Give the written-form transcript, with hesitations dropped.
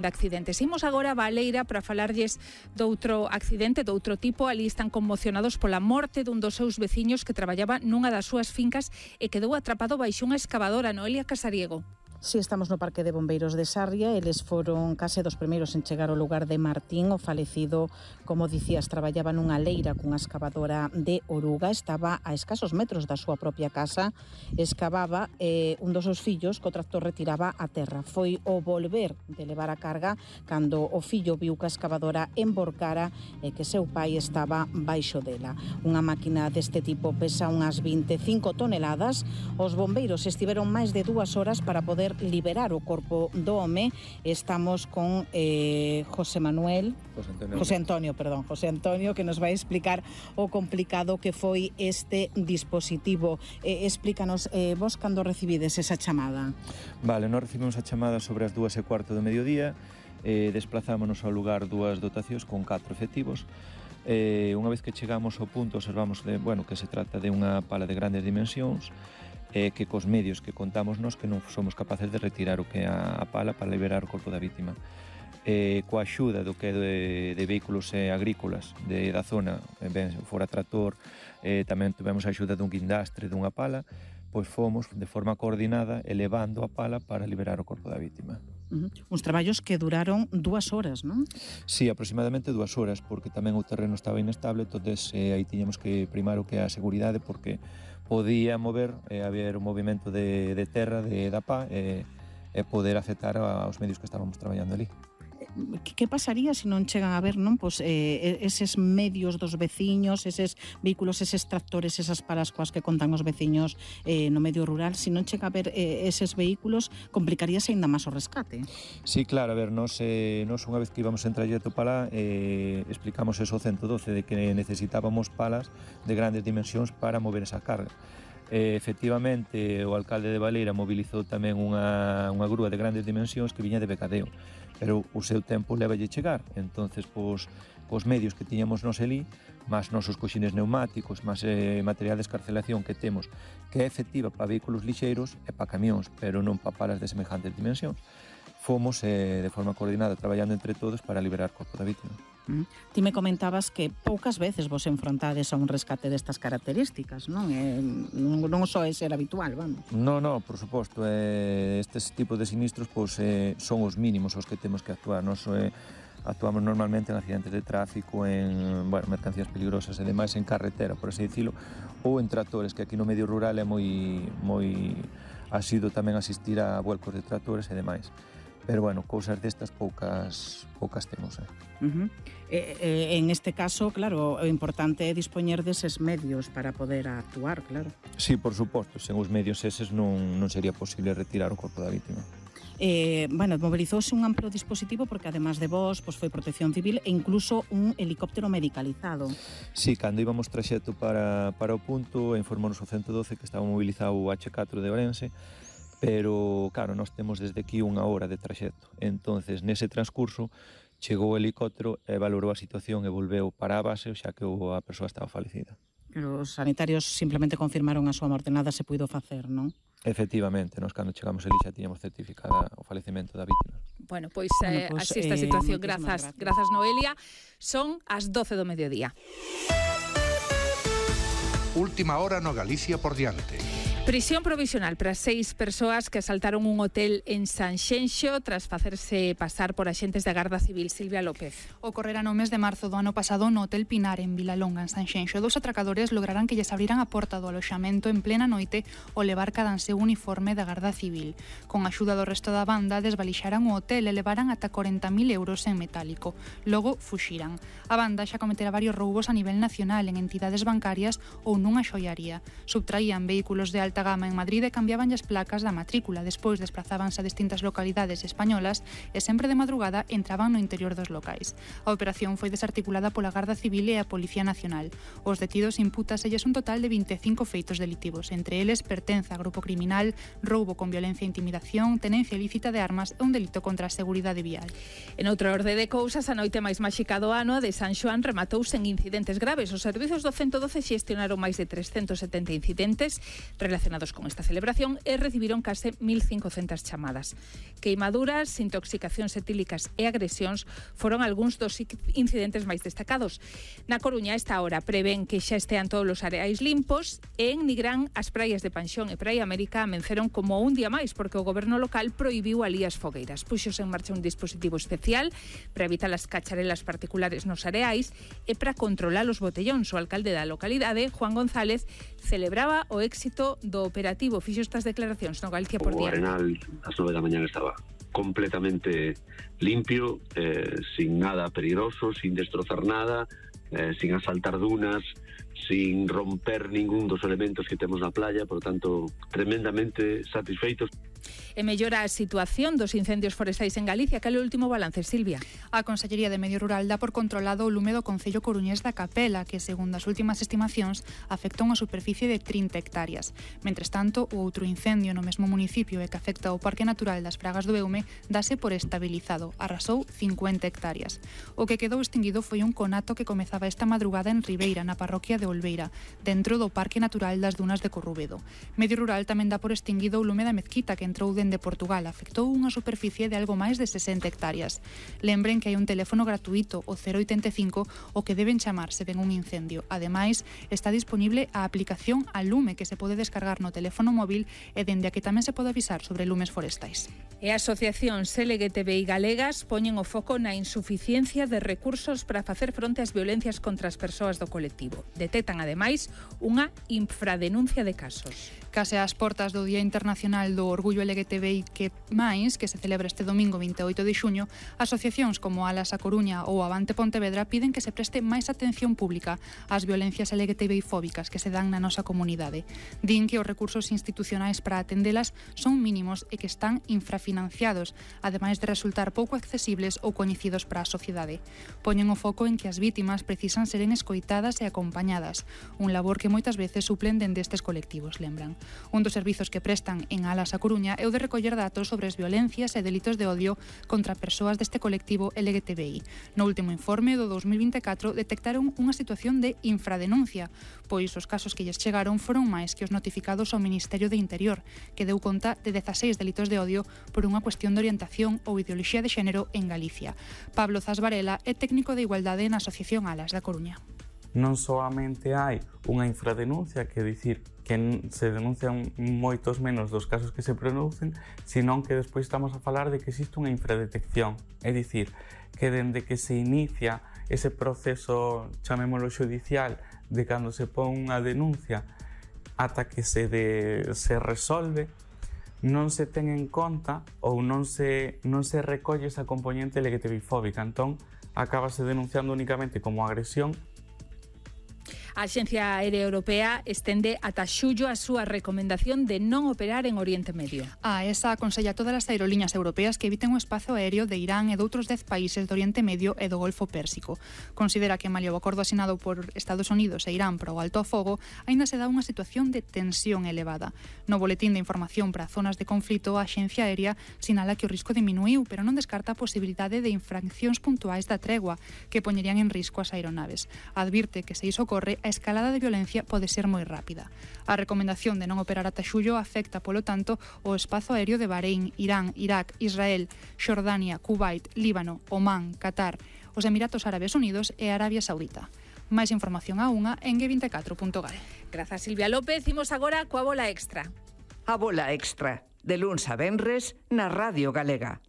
de accidentes. Imos agora a Baleira para falarlles doutro accidente, doutro tipo. Ali están conmocionados pola morte dun dos seus veciños que traballaba nunha das súas fincas e quedou atrapado baixo unha excavadora. Noelia Casariego. Si estamos no Parque de Bombeiros de Sarria, eles foron case dos primeiros en chegar ao lugar de Martín. O falecido, como dicías, traballaba nunha leira cunha excavadora de oruga, estaba a escasos metros da súa propia casa, excavaba un dos seus fillos que o tractor retiraba a terra. Foi o volver de levar a carga cando o fillo viu que a excavadora emborcara e que seu pai estaba baixo dela. Unha máquina deste tipo pesa unhas 25 toneladas. Os bombeiros estiveron máis de 2 horas para poder liberar o corpo do home. Estamos con José Antonio, que nos vai explicar o complicado que foi este dispositivo. Explícanos, vos cando recibides esa chamada? Vale, nós recibimos a chamada sobre as 2:15 do mediodía, desplazámonos ao lugar 2 dotacións con 4 efectivos. Unha vez que chegamos ao punto observamos que se trata de unha pala de grandes dimensións, que cos medios que contamos nos que non somos capaces de retirar o que é a pala para liberar o corpo da vítima. Coa axuda do que é de vehículos agrícolas da zona, ben fora tractor, tamén tivemos a axuda dun guindastre, dunha pala, pois fomos de forma coordinada elevando a pala para liberar o corpo da vítima. Uns traballos que duraron 2 horas, non? Sí, aproximadamente 2 horas, porque tamén o terreno estaba inestable, entonces aí tiñamos que primar o que é a seguridade, porque podía mover, haber un movimento de terra, da pá, e poder afectar aos medios que estábamos traballando ali. Que pasaría se non chegan a ver, non? Pois eses medios dos veciños, eses vehículos, eses tractores, esas palas coas que contan os veciños no medio rural, se non chega a ver eses vehículos, complicaríase aínda máis o rescate. Sí, claro, a ver, nos unha vez que íbamos en trayecto para lá, explicamos eso ao 112 de que necesitábamos palas de grandes dimensións para mover esa carga. Efectivamente, o alcalde de Baleira mobilizou tamén unha grúa de grandes dimensións que viña de Becadeo, pero o seu tempo levalle chegar. Entonces, cos medios que tiñamos nos ali, máis nosos coxines neumáticos, máis material de escarcelación que temos, que é efectiva para vehículos lixeiros e para camións, pero non para palas de semejantes dimensións, fomos de forma coordinada traballando entre todos para liberar o corpo da vítima. Ti me comentabas que poucas veces vos enfrontades a un rescate destas características, non? Non só é ser habitual, vamos. Non, por suposto, estes tipos de sinistros son os mínimos os que temos que actuar. Nos actuamos normalmente en accidentes de tráfico, en mercancías peligrosas e demais en carretera, por así dicilo, ou en tractores, que aquí no medio rural é moi asido tamén asistir a vuelcos de tractores e demais. Pero, cousas destas poucas temos. En este caso, claro, o importante é dispoñer deses medios para poder actuar, claro. Sí, por suposto, sen os medios eses non sería posible retirar o corpo da vítima. Mobilizouse un amplo dispositivo porque, además de vos, foi Protección Civil e incluso un helicóptero medicalizado. Sí, cando íbamos traxecto para o punto, informounos o 112 que estaba mobilizado o H4 de Ourense, pero, claro, nós temos desde aquí 1 hora de traxecto. Entonces, nese transcurso, chegou o helicóptero e valorou a situación e volveu para a base, xa que a persoa estaba falecida. Pero os sanitarios simplemente confirmaron a súa morte, nada se puido facer, non? Efectivamente, nós cando chegamos ali xa tiñamos certificada o falecemento da vítima. Pois así esta situación. Grazas, Noelia. Son as 12 do mediodía. Última hora no Galicia por diante. Prisión provisional para 6 persoas que asaltaron un hotel en Sanxenxo tras facerse pasar por axentes da Garda Civil. Silvia López. Ocorrera no mes de marzo do ano pasado no Hotel Pinar en Vilalonga, en Sanxenxo. 2 atracadores lograran que lles abriran a porta do aloxamento en plena noite ao levar cadanse o uniforme da Garda Civil. Con a axuda do resto da banda desvalixaran o hotel e levaran ata 40.000 euros en metálico. Logo fuxiran. A banda xa cometera varios roubos a nivel nacional en entidades bancarias ou nunha xoiaría. Subtraían vehículos de alta gama en Madrid e cambiaban as placas da matrícula. Despois desplazábanse a distintas localidades españolas e sempre de madrugada entraban no interior dos locais. A operación foi desarticulada pola Garda Civil e a Policía Nacional. Os detidos impútaselles un total de 25 feitos delitivos. Entre eles, pertenza a grupo criminal, roubo con violencia e intimidación, tenencia ilícita de armas e un delito contra a seguridade vial. En outra orde de cousas, a noite máis máxica do ano de San Xoán rematouse en incidentes graves. Os servizos do 112 xestionaron máis de 370 incidentes relacionados relacionados con esta celebración e recibiron case 1.500 chamadas. Queimaduras, intoxicacións etílicas e agresións foron algúns dos incidentes máis destacados. Na Coruña, a esta hora, prevén que xa estean todos os areais limpos e en Nigrán as praias de Panxón e Praia América amenceron como un día máis porque o goberno local prohibiu alí as fogueiras. Puxose en marcha un dispositivo especial para evitar as cacharelas particulares nos areais e para controlar os botellóns. O alcalde da localidade, Juan González, celebraba o éxito do operativo. Fixo estas declaracións no Galicia por Diante. O Arenal ás 9 da mañana estaba completamente limpio, sin nada peligroso, sin destrozar nada, sin asaltar dunas, sin romper ningún dos elementos que temos na playa, por tanto, tremendamente satisfeitos. E mellora a situación dos incendios forestais en Galicia. Cal é o último balance, Silvia? A Consellería de Medio Rural dá por controlado o lume do Concello coruñés da Capela, que, segundo as últimas estimacións, afecta unha superficie de 30 hectáreas. Mentres tanto, o outro incendio no mesmo municipio e que afecta o Parque Natural das Fragas do Eume dáse por estabilizado. Arrasou 50 hectáreas. O que quedou extinguido foi un conato que comezaba esta madrugada en Ribeira, na parroquia de Olveira, dentro do Parque Natural das Dunas de Corrubedo. Medio Rural tamén dá por extinguido o lume da Mezquita, que entrou dende Portugal, afectou unha superficie de algo máis de 60 hectáreas. Lembren que hai un teléfono gratuito, o 085, o que deben chamar se ven un incendio. Ademais, está disponible a aplicación a Lume, que se pode descargar no teléfono móvil e dende a que tamén se pode avisar sobre lumes forestais. E asociacións LGTBI galegas poñen o foco na insuficiencia de recursos para facer fronte ás violencias contra as persoas do colectivo. Detectan, ademais, unha infradenuncia de casos. Case ás portas do Día Internacional do Orgullo LGTBI que se celebra este domingo 28 de xuño, asociacións como Alas a Coruña ou Avante Pontevedra piden que se preste máis atención pública ás violencias LGTBI fóbicas que se dan na nosa comunidade. Din que os recursos institucionais para atendelas son mínimos e que están infrafinanciados, ademais de resultar pouco accesibles ou coñecidos para a sociedade. Poñen o foco en que as vítimas precisan seren escoitadas e acompañadas, un labor que moitas veces suplen dende estes colectivos, lembran. Un dos servizos que prestan en Alas a Coruña é o de recoller datos sobre as violencias e delitos de odio contra persoas deste colectivo LGTBI. No último informe do 2024 detectaron unha situación de infradenuncia, pois os casos que lles chegaron foron máis que os notificados ao Ministerio de Interior, que deu conta de 16 delitos de odio por unha cuestión de orientación ou ideoloxía de xénero en Galicia. Pablo Zas Varela é técnico de igualdade na Asociación Alas da Coruña. Non solamente hai unha infradenuncia, que dicir que se denuncian moitos menos dos casos que se producen, senón que despois estamos a falar de que existe unha infradetección, é dicir, que dende que se inicia ese proceso, chamémolo xudicial, de cando se pon unha denuncia ata que se resolve, non se ten en conta ou non se recolle esa componente LGTBI fóbica, entón acabase denunciando únicamente como agresión. A Axencia Aérea Europea estende ata xullo a súa recomendación de non operar en Oriente Medio. A ESA aconsella a todas as aerolíneas europeas que eviten o espazo aéreo de Irán e de outros 10 países do Oriente Medio e do Golfo Pérsico. Considera que malia o acordo asinado por Estados Unidos e Irán para o alto ao fogo, aínda se dá unha situación de tensión elevada. No boletín de información para zonas de conflito, a Axencia Aérea sinala que o risco diminuiu, pero non descarta a posibilidade de infraccións puntuais da tregua que poñerían en risco as aeronaves. Advirte que se iso ocorre, a escalada de violencia pode ser moi rápida. A recomendación de non operar ata xullo afecta, polo tanto, o espazo aéreo de Bahrein, Irán, Irak, Israel, Xordania, Kuwait, Líbano, Omán, Qatar, os Emiratos Árabes Unidos e Arabia Saudita. Máis información a unha en g24.gal. Grazas, Silvia López. Imos agora coa bola extra. A bola extra, de luns a venres, na Radio Galega.